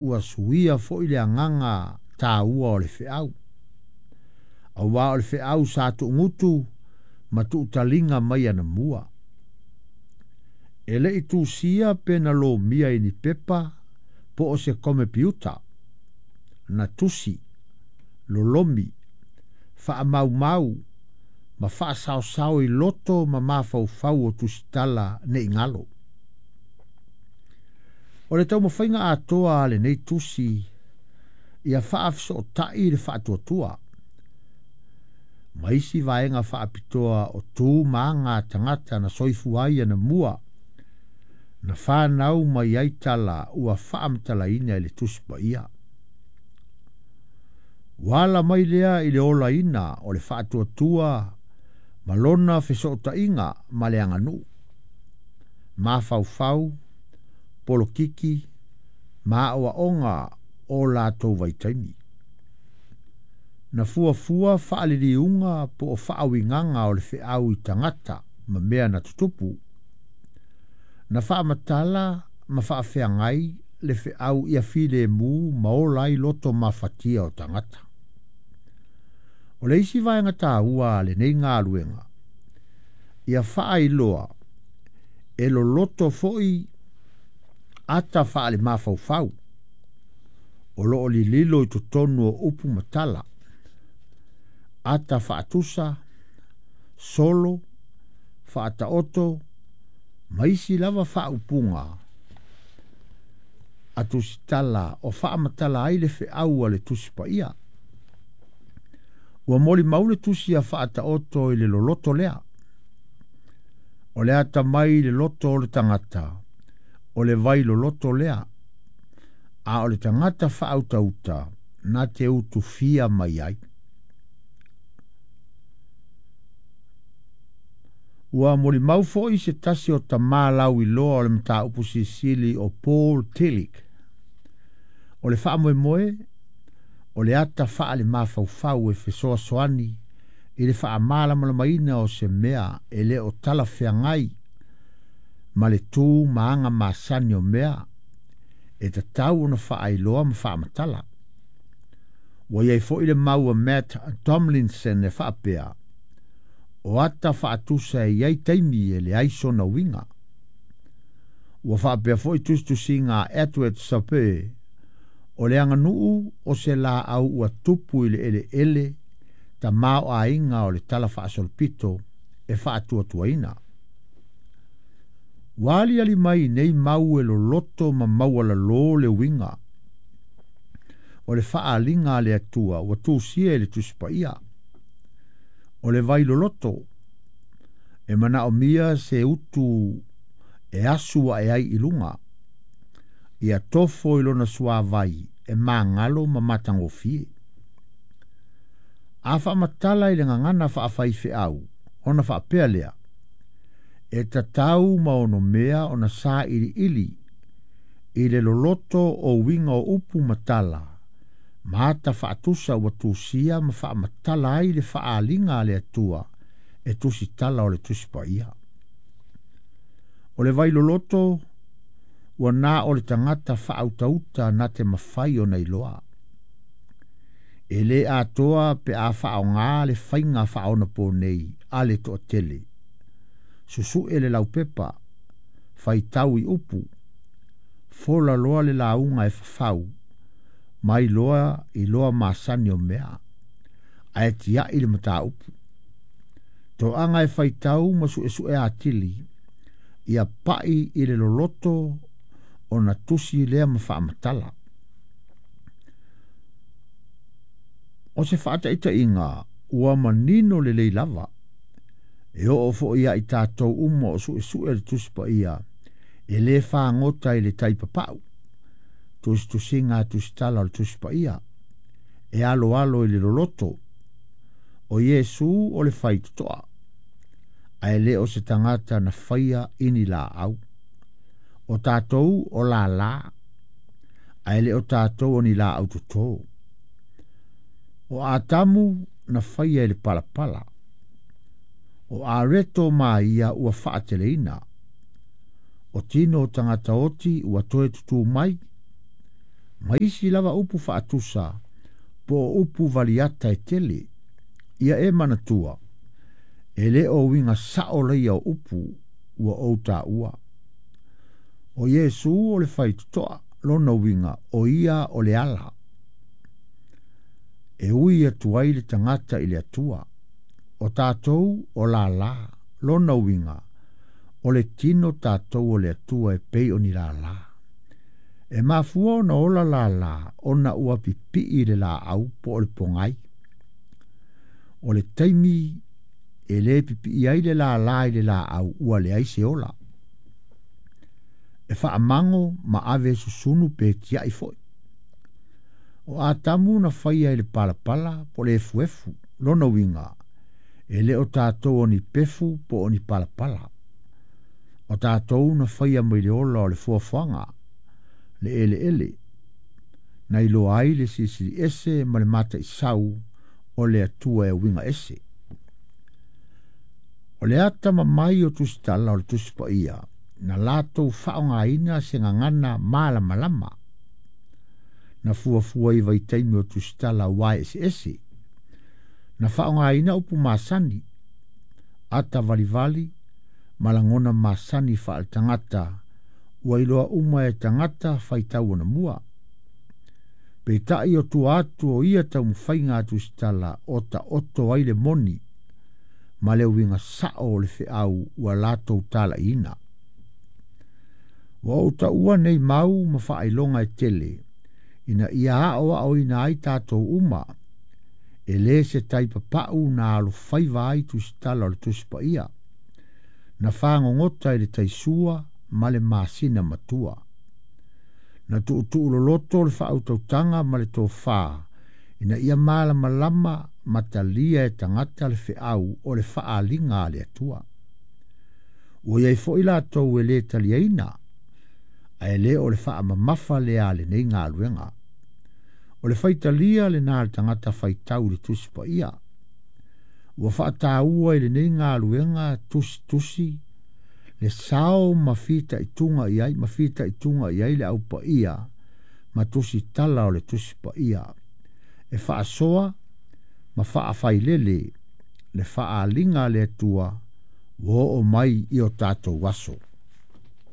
Ua suia foi le agaga taua o le feau. Auā o le feau sa tuugutu ma tuutaliga mai anamua. E le i tusia pe na lomia i ni pepa po o se komepiuta. Na tusi, lolomi, faamaumau ma faasaosao i loto ma mafaufau o tusitala ne i galo. O le taumafaiga atoa a lenei tusi ia faafesootai le faatuatua ma isi vaega faapitoa o tu ma aga a tagata na soifua ai anamua na fanau mai ai tala ua faamatalaina i le Tusi Paia. Ua ala mai lea i le olaina o le faatuatua ma lona fesootaiga ma le aganuu, mafaufau, polokiki ma aoaoga o latou vaitaimi. Na fuafua faaliliuga po o faauigaga o le feau i tagata ma mea na tutupu. Na faamatala ma faafeagai le feau ia filemu ma ola ai loto mafatia o tagata. O le isi vaega taua a lenei galuega, ia faailoa e loloto foi ata faalemafaufau o loo lililo i totonu o upu ma tala, ata faatusa, solo, faataoto ma isi lava faaupuga a tusitala o faamatala ai le feau a le Tusi Paia. Ua molimau le tusi a Faataoto i le loloto lea. O le atamai i le loto o le tagata, o le vai loloto lea, a o le tagata faautauta na te utufia mai ai. Ua molimau foi se tasi o tamā lauiloa o le mataupu silisili o Paul Tillich, o le faamoemoe o le ata faalemafaufau e fesoasoani i le faamalamalamaina o se mea e le o talafeagai ma le tu ma aga masani o mea e tatau ona faailoa ma faamatala. Ua i ai foi le mau a Matt Tomlinson e faapea, o ata faatusa e i ai taimi e leai sona uiga. Ua faapea foi tusitusiga a Edward Sapir, o le aganuu o se laau ua tupu i le eleele tamaoaiga o le talafaasolopito e faatuatuaina. Ua aliali mai nei mau e loloto ma maualalō le uiga o le faaaliga a le Atua ua tusia i le Tusi Paia. O le vai loloto e manaomia se utu e asu ae ai i luga, ia tofo i lona suāvai e magalo ma matagofie. A faamatala i le gagana faafaifeau, ona faapea lea, e tatau ma onomea ona sailiili i le loloto o uiga o upu ma tala, ma ata faatusa ua tusia ma faamatala ai le faaaliga a le Atua e tusitala o le Tusi Paia. O le vai loloto ua na o le tagata faautauta na te mafai ona iloa. E le atoa pe a faaaogā le faiga faaonaponei a le toatele. Susue le laupepa, faitau i upu, fola loa le lauga e fafau, ma iloa iloa masani o mea, ae tiai le mataupu. Toaga e faitau ma suesue atili, ia pai i le loloto ona tusi lea ma faamatala. O se faataitaiga ua manino lelei lava, e oo foi ia i tatou uma o suesue le Tusi Paia, e le fagota i le tai papau, tusitusiga a tusitala o le Tusi Paia, e aloalo i le loloto, o Iesu o le faitotoa, ae le o se tagata na faia i ni laau. O tatou o lālā, ae le o tatou o ni laau totō. O Atamu na faia i le palapala. O Areto ma ia ua faateleina. O tino o tagata oti ua toe tutū mai, Ma isi lava upu faatusa po o upu valiata e tele. Ia e manatua, e lē o uiga saʻo laia o upu ua ou taua. O Iesu o le faitotoa lona uiga o ia o le ala. E ui atu ai le tagata i le Atua. O tatou o lālā lona uiga o le tino tatou o le Atua e pei o ni lālā. E mafua ona ola lālā ona ua pipii le laau po o le pogai. O le taimi e lē pipii ai le lālā i le laau ua leai se ola. E faamago ma ave susunu pe tiai foi. O Atamu na faia i le palapala po le efuefu lona uiga e lē o tatou o ni pefu po o ni palapala. O tatou na faia mai le ola o le fuafuaga le eleele na iloa ai le silisili ese ma le mataisau o le Atua e uiga ese. O le ata mamai o tusitala o le Tusi Paia na latou faaaogaina se gagana malamalama na fuafua i vaitaimi o tusitala ua eseese. Na faaaogaina upu masani, ata valivali ma lagona masani faaletagata ua iloa uma e tagata faitau anamua. Peitai o tua atu o ia taumafaiga a tusitala o taoto ai le moni ma le uiga saʻo o le feau ua latou talaiina. Ua ou taua nei mau ma faailoga e tele ina ia aoaoina ai tatou uma e lē se tai papau na alofaiva ai tusitala o le Tusi Paia na fagogota i le taisua ma le masina matua. Na tuutuu loloto le faautautaga ma le tofā ina ia malamalama ma talia e tagata le feau o le faaaliga a le Atua. Ua iai foʻi latou e lē taliaina ae lē o le faamamafa lea a lenei galuega. O le faitalia lena le tagata faitau i le Tusi Paia. Ua faataua i lenei galuega tusitusi le sao ma fitaituga i ai ma fitaituga i ai le aupaia ma tusitala o le Tusi Paia. E faasoa ma faafailele le faaaliga a le Atua ua oo mai i o tatou aso.